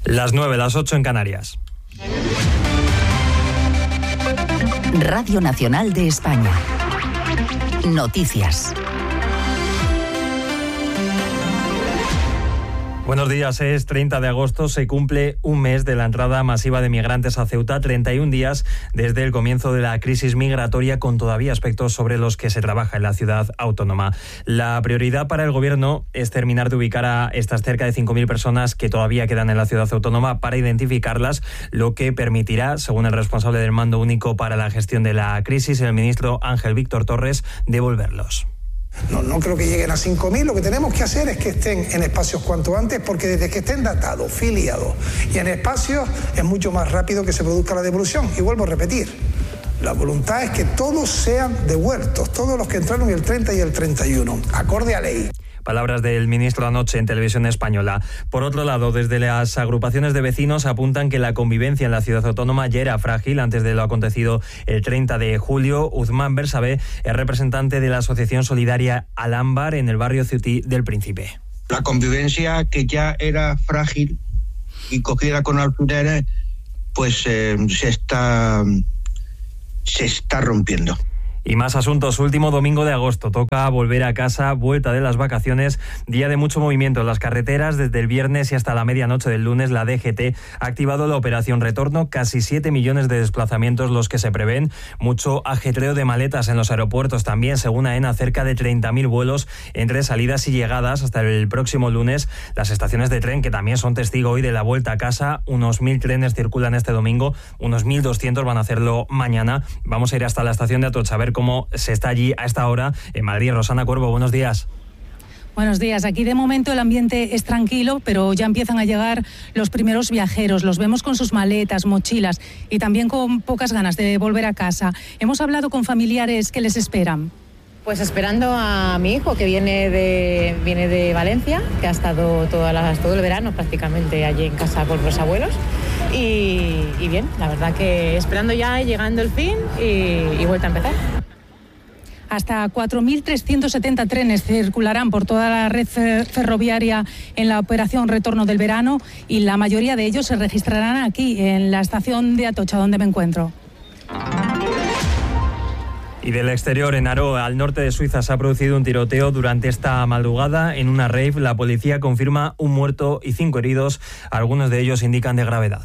Las 9, las 8 en Canarias. Radio Nacional de España. Noticias. Buenos días, es 30 de agosto, se cumple un mes de la entrada masiva de migrantes a Ceuta, 31 días desde el comienzo de la crisis migratoria, con todavía aspectos sobre los que se trabaja en la ciudad autónoma. La prioridad para el Gobierno es terminar de ubicar a estas cerca de 5.000 personas que todavía quedan en la ciudad autónoma para identificarlas, lo que permitirá, según el responsable del Mando Único para la Gestión de la Crisis, el ministro Ángel Víctor Torres, devolverlos. No creo que lleguen a 5.000. Lo que tenemos que hacer es que estén en espacios cuanto antes, porque desde que estén datados, filiados y en espacios es mucho más rápido que se produzca la devolución. Y vuelvo a repetir, la voluntad es que todos sean devueltos, todos los que entraron el 30 y el 31, acorde a ley. Palabras del ministro anoche en Televisión Española. Por otro lado, desde las agrupaciones de vecinos apuntan que la convivencia en la ciudad autónoma ya era frágil antes de lo acontecido el 30 de julio. Uzmán Bersabé es representante de la asociación solidaria Alámbar en el barrio Ceutí del Príncipe. La convivencia, que ya era frágil y cogida con alfileres, pues se está rompiendo. Y más asuntos. Último domingo de agosto. Toca volver a casa, vuelta de las vacaciones, día de mucho movimiento en las carreteras. Desde el viernes y hasta la medianoche del lunes, la DGT ha activado la operación Retorno. Casi 7 millones de desplazamientos los que se prevén. Mucho ajetreo de maletas en los aeropuertos también. Según AENA, cerca de 30.000 vuelos entre salidas y llegadas hasta el próximo lunes. Las estaciones de tren, que también son testigo hoy de la vuelta a casa. Unos 1.000 trenes circulan este domingo. Unos 1.200 van a hacerlo mañana. Vamos a ir hasta la estación de Atocha a ver cómo se está allí a esta hora en Madrid. Rosana Cuervo, buenos días. Buenos días. Aquí de momento el ambiente es tranquilo, pero ya empiezan a llegar los primeros viajeros. Los vemos con sus maletas, mochilas y también con pocas ganas de volver a casa. Hemos hablado con familiares que les esperan. Pues esperando a mi hijo, que viene de Valencia, que ha estado todo el verano prácticamente allí en casa con los abuelos. Y bien, la verdad que esperando ya, llegando el fin y vuelta a empezar. Hasta 4.370 trenes circularán por toda la red ferroviaria en la operación Retorno del verano, y la mayoría de ellos se registrarán aquí, en la estación de Atocha, donde me encuentro. Y del exterior, en Aro, al norte de Suiza, se ha producido un tiroteo durante esta madrugada en una rave. La policía confirma un muerto y 5 heridos. Algunos de ellos indican de gravedad.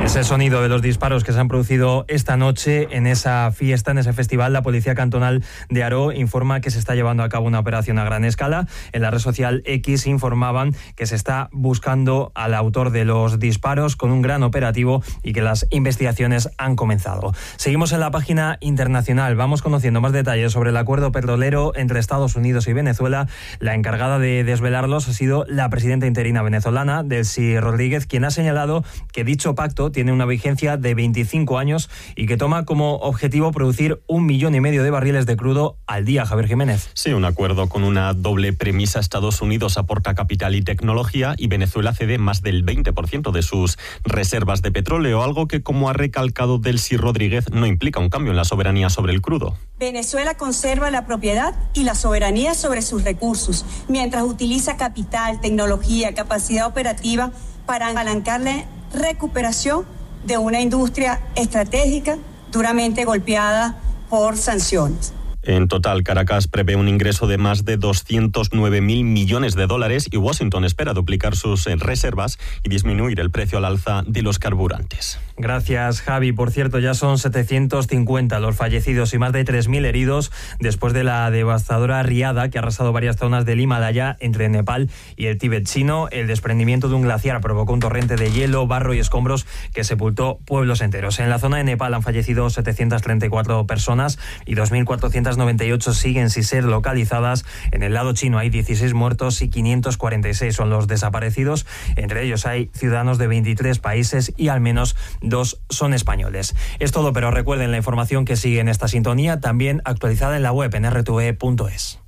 Es el sonido de los disparos que se han producido esta noche en esa fiesta, en ese festival. La Policía Cantonal de Aro informa que se está llevando a cabo una operación a gran escala. En la red social X informaban que se está buscando al autor de los disparos con un gran operativo y que las investigaciones han comenzado. Seguimos en la página internacional. Vamos conociendo más detalles sobre el acuerdo petrolero entre Estados Unidos y Venezuela. La encargada de desvelarlos ha sido la presidenta interina venezolana, Delcy Rodríguez, quien ha señalado que dicho pacto tiene una vigencia de 25 años y que toma como objetivo producir 1,5 millones de barriles de crudo al día. Javier Jiménez. Sí, un acuerdo con una doble premisa. Estados Unidos aporta capital y tecnología y Venezuela cede más del 20% de sus reservas de petróleo, algo que, como ha recalcado Delcy Rodríguez, no implica un cambio en la soberanía sobre el crudo. Venezuela conserva la propiedad y la soberanía sobre sus recursos, mientras utiliza capital, tecnología, capacidad operativa para apalancar la recuperación de una industria estratégica duramente golpeada por sanciones. En total, Caracas prevé un ingreso de más de 209.000 millones de dólares y Washington espera duplicar sus reservas y disminuir el precio al alza de los carburantes. Gracias, Javi. Por cierto, ya son 750 los fallecidos y más de 3.000 heridos después de la devastadora riada que ha arrasado varias zonas del Himalaya entre Nepal y el Tíbet chino. El desprendimiento de un glaciar provocó un torrente de hielo, barro y escombros que sepultó pueblos enteros. En la zona de Nepal han fallecido 734 personas y 2.498 siguen sin ser localizadas. En el lado chino hay 16 muertos y 546 son los desaparecidos. Entre ellos hay ciudadanos de 23 países y al menos 2 son españoles. Es todo, pero recuerden la información que sigue en esta sintonía, también actualizada en la web en rtve.es.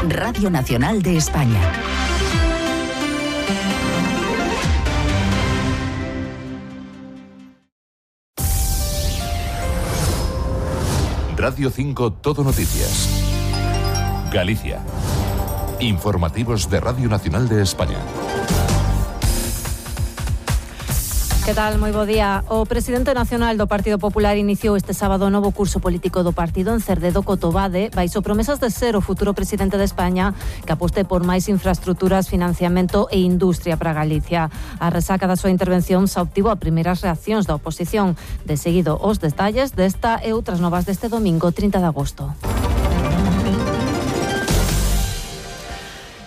Radio Nacional de España. Radio 5 Todo Noticias. Galicia. Informativos de Radio Nacional de España. Que tal? Moi bo día. O presidente nacional do Partido Popular iniciou este sábado o novo curso político do partido en Cerdedo Cotobade, baixo promesas de ser o futuro presidente de España, que aposte por máis infraestructuras, financiamento e industria para Galicia. A resaca da súa intervención xa obtivo a primeiras reaccións da oposición. De seguido, os detalles desta e outras novas deste domingo 30 de agosto.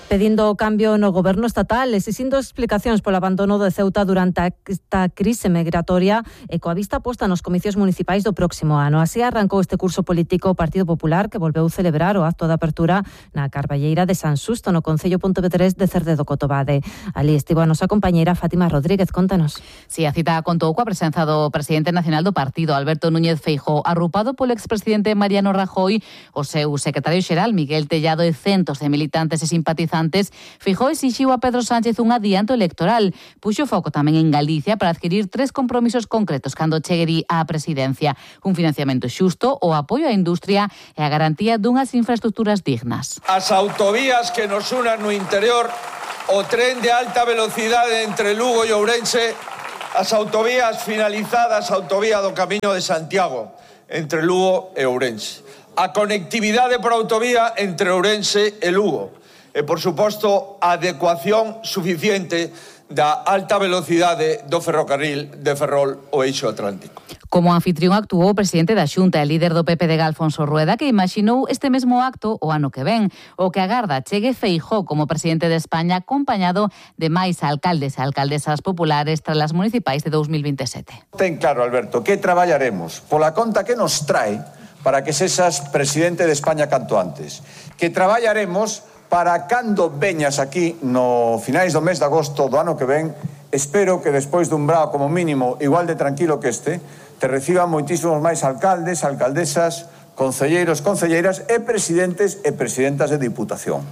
Pedindo o cambio no goberno estatal, exixindo explicacións polo abandono de Ceuta durante esta crise migratoria e coa vista posta nos comicios municipais do próximo ano. Así arrancou este curso político o Partido Popular, que volveu celebrar o acto de apertura na Carballeira de San Susto, no Concello Pontevedrés de Cerdedo Cotobade. Ali estivo a nosa compañeira Fátima Rodríguez. Contanos. Si, a cita contou coa presenza do presidente nacional do partido, Alberto Núñez Feijóo, arrupado polo expresidente Mariano Rajoy, o seu secretario xeral Miguel Tellado e centos de militantes e simpatizantes. Feijóo exixiu a Pedro Sánchez un adianto electoral. Puxo foco tamén en Galicia para adquirir 3 compromisos concretos cando chegue á presidencia: un financiamento xusto, o apoio á industria e a garantía dunhas infraestructuras dignas. As autovías que nos unan no interior, o tren de alta velocidade entre Lugo e Ourense, as autovías finalizadas, a autovía do Camiño de Santiago entre Lugo e Ourense, a conectividade por autovía entre Ourense e Lugo, e, por suposto, a adecuación suficiente da alta velocidade do ferrocarril de Ferrol ao eixo atlántico. Como anfitrión actuou o presidente da Xunta e líder do PPD, Alfonso Rueda, que imaxinou este mesmo acto o ano que ven. O que agarda chegue Feijóo como presidente de España, acompañado de máis alcaldes e alcaldesas populares tras as municipais de 2027. Ten claro, Alberto, que traballaremos pola conta que nos trae para que sexas presidente de España canto antes. Que traballaremos para cando veñas aquí no finais do mes de agosto do ano que ven, espero que despois dun brao como mínimo igual de tranquilo que este, te reciban moitísimos máis alcaldes, alcaldesas, concelleiros, concelleiras e presidentes e presidentas de Diputación.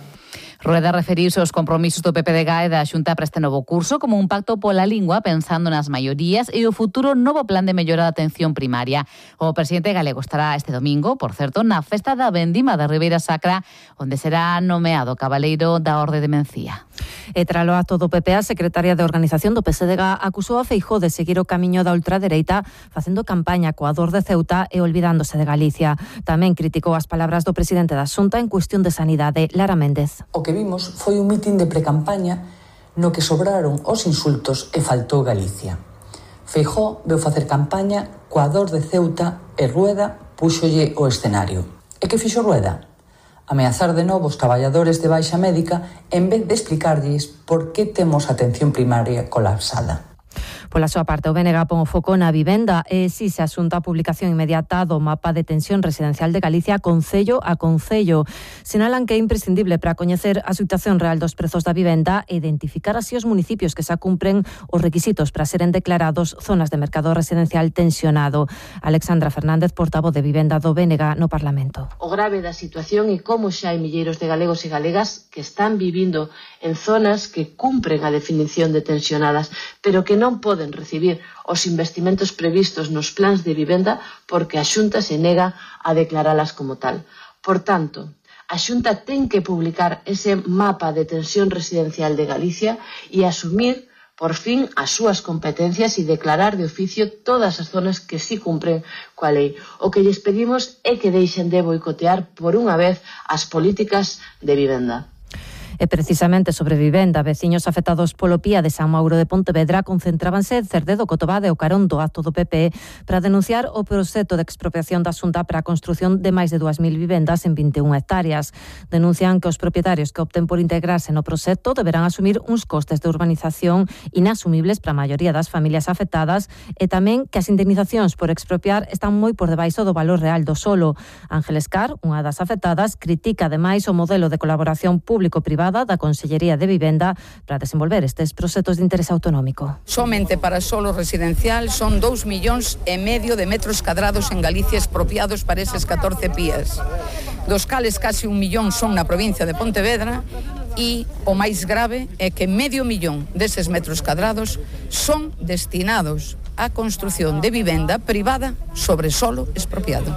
Rueda referiuse aos compromisos do PPDG e da Xunta para este novo curso como un pacto pola lingua pensando nas maiorías e o futuro novo plan de mellora da atención primaria. O presidente galego estará este domingo, por certo, na festa da Vendima da Ribeira Sacra, onde será nomeado cabaleiro da Orde de Mencía. E tralo acto do PP, a secretaria de Organización do PSDG acusou a Feijóo de seguir o camiño da ultradereita facendo campaña coa dor de Ceuta e olvidándose de Galicia. Tamén criticou as palabras do presidente da Xunta en cuestión de sanidade, Lara Méndez. O que vimos foi un mitin de precampaña no que sobraron os insultos e faltou Galicia. Feijóo veu facer campaña coa dor de Ceuta e Rueda púxolle o escenario. E que fixo Rueda? Ameazar de novo os traballadores de baixa médica en vez de explicarlles por que temos a atención primaria colapsada. Pola súa parte, o BNG pon o foco na vivenda e si se asunta a publicación inmediata do mapa de tensión residencial de Galicia concello a concello. Sinalan que é imprescindible para coñecer a situación real dos prezos da vivenda e identificar así os municipios que xa cumpren os requisitos para seren declarados zonas de mercado residencial tensionado. Alexandra Fernández, portavoz de Vivenda do BNG no Parlamento. O grave da situación é como xa hai milleiros de galegos e galegas que están vivindo en zonas que cumpren a definición de tensionadas, pero que non poden recibir os investimentos previstos nos plans de vivenda porque a Xunta se nega a declaralas como tal. Por tanto, a Xunta ten que publicar ese mapa de tensión residencial de Galicia e asumir, por fin, as súas competencias e declarar de oficio todas as zonas que sí cumpren coa lei. O que lles pedimos é que deixen de boicotear por unha vez as políticas de vivenda. E precisamente sobre vivenda, veciños afectados polo PIA de San Mauro de Pontevedra concentrábanse en Cerdedo Cotobade o carón do acto do PP para denunciar o proxecto de expropiación da Xunta para a construción de máis de 2.000 vivendas en 21 hectáreas. Denuncian que os propietarios que opten por integrarse no proxecto deberán asumir uns costes de urbanización inasumibles para a maioría das familias afectadas e tamén que as indemnizacións por expropiar están moi por debaixo do valor real do solo. Ángeles Car, unha das afectadas, critica ademais o modelo de colaboración público-privada da Consellería de Vivenda para desenvolver estes proxectos de interés autonómico. Somente para solo residencial son 2,5 millóns de metros cadrados en Galicia expropiados para eses 14 PIAs, dos cales casi 1 millón son na provincia de Pontevedra e o máis grave é que 500 millón deses metros cadrados son destinados á construción de vivenda privada sobre solo expropiado.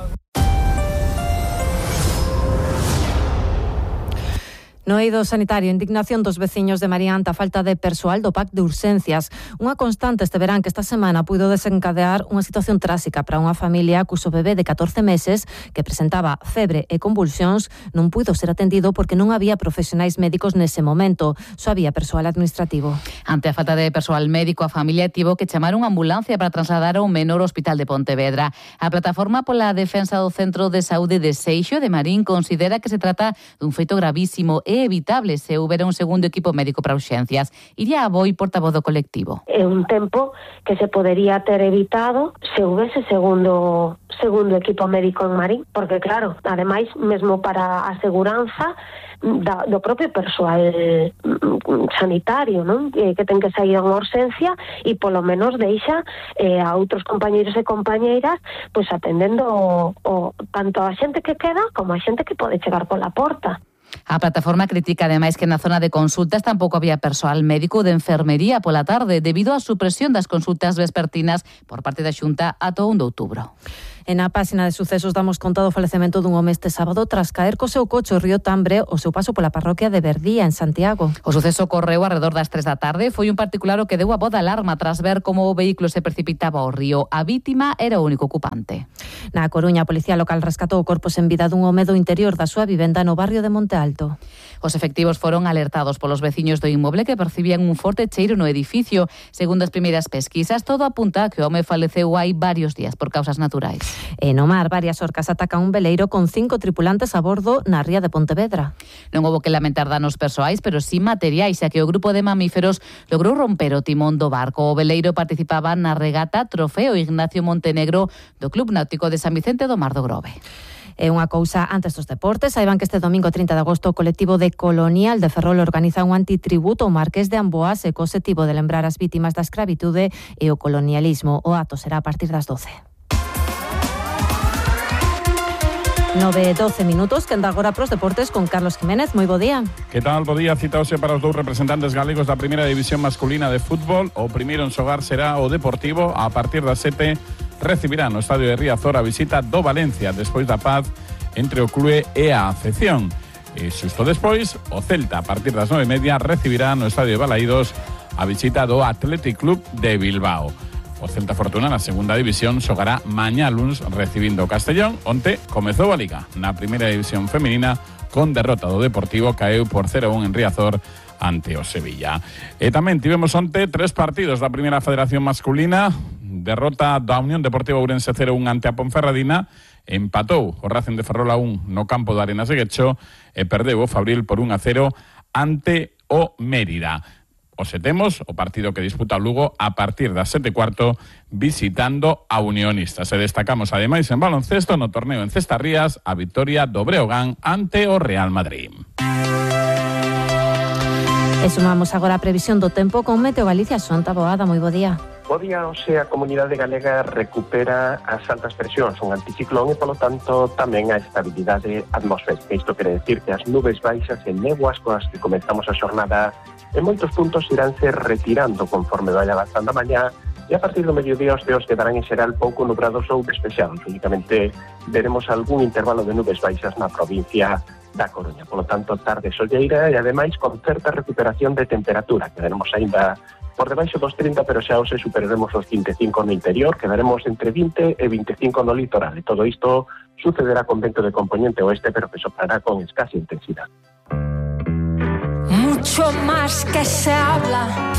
No eido sanitario, indignación dos veciños de María ante a falta de persoal do PAC de urxencias. Unha constante este verán que esta semana puido desencadear unha situación tráxica para unha familia cuso bebé de 14 meses que presentaba febre e convulsións non puido ser atendido porque non había profesionais médicos nese momento, só había persoal administrativo. Ante a falta de persoal médico, a familia tivo que chamar unha ambulancia para trasladar ao menor ao Hospital de Pontevedra. A Plataforma pola Defensa do Centro de Saúde de Seixo de Marín considera que se trata dun feito gravísimo e evitable se houbera un segundo equipo médico para urxencias. Iria Aboi, portavoz do colectivo. É un tempo que se podería ter evitado se houbese segundo equipo médico en Marín, porque claro, ademais, mesmo para a seguranza do propio persoal sanitario, non? Que ten que sair a unha urxencia e polo menos deixa a outros compañeiros e compañeiras pois atendendo tanto a xente que queda como a xente que pode chegar pola porta. A plataforma critica ademais que na zona de consultas tampouco había persoal médico de enfermería pola tarde debido á supresión das consultas vespertinas por parte da Xunta ata o 1 de outubro. En a páxina de sucesos damos conta do falecemento dun home este sábado tras caer co seu coche o río Tambre o seu paso pola parroquia de Verdía, en Santiago. O suceso ocorreu alrededor das 3 da tarde. Foi un particular o que deu a voz de alarma tras ver como o vehículo se precipitaba ao río. A vítima era o único ocupante. Na Coruña, a Policía Local rescatou o corpo sen vida dun home do interior da súa vivenda no barrio de Monte Alto. Os efectivos foron alertados polos veciños do inmoble que percibían un forte cheiro no edificio. Segundo as primeiras pesquisas, todo apunta a que o home faleceu hai varios días por causas naturais. E no mar, varias orcas atacan un veleiro con 5 tripulantes a bordo na ría de Pontevedra. Non houbo que lamentar danos persoais, pero sí materiais, xa que o grupo de mamíferos logrou romper o timón do barco. O veleiro participaba na regata Trofeo Ignacio Montenegro do Club Náutico de San Vicente do Mar do Grove. É unha cousa antes dos deportes. Saiban que este domingo 30 de agosto o colectivo de Colonial de Ferrol organiza un antitributo ao Marqués de Amboás e co obxectivo de lembrar as vítimas da escravitude e o colonialismo. O acto será a partir das 12. 9:12 minutos, que anda agora pros deportes con Carlos Jiménez. Moi bo día. Que tal? Bo día. Citaose para os dous representantes galegos da primeira división masculina de fútbol. O primeiro en xogar será o Deportivo. A partir das 7 recibirá no estadio de Riazor a visita do Valencia despois da paz entre o clube e a afección. E xusto despois, o Celta a partir das 9:30 recibirá no estadio de Balaídos a visita do Athletic Club de Bilbao. O Celta Fortuna na segunda división xogará mañá luns recibindo o Castellón. Onte comezou a Liga na primeira división feminina con derrota do Deportivo, caeu por 0-1 en Riazor ante o Sevilla. E tamén tivemos onte 3 partidos da primeira federación masculina. Derrota da Unión Deportiva Ourense 0-1 ante a Ponferradina. Empatou o Racing de Ferrol a 1 no campo de Arenas de Guecho e perdeu o Fabril por 1-0 ante o Mérida. Hoxe temos o partido que disputa o Lugo a partir das 7:15 visitando a Unionistas. E destacamos ademais en baloncesto no torneo en Cestarrías a vitoria do Breogán ante o Real Madrid. E sumamos agora a previsión do tempo con Meteo Galicia. Xonta Boada, moi bo día. Bo día, hoxe a comunidade galega recupera as altas presións, un anticiclón e, polo tanto, tamén a estabilidade atmosférica. Isto quere decir que as nubes baixas e néboas coas que comenzamos a xornada en moitos puntos iránse retirando conforme vaya avanzando a mañá e a partir do mediodía os ceos quedarán en xeral pouco nubrados ou despexados. Únicamente veremos algún intervalo de nubes baixas na provincia da Coruña. Por lo tanto, tarde solleira e ademais con certa recuperación de temperatura. Quedaremos aínda por debaixo dos 30, pero xa hoxe superaremos os 25 no interior, quedaremos entre 20 e 25 no litoral. E todo isto sucederá con vento de componente oeste, pero que soplará con escasa intensidade. Mucho más que se habla,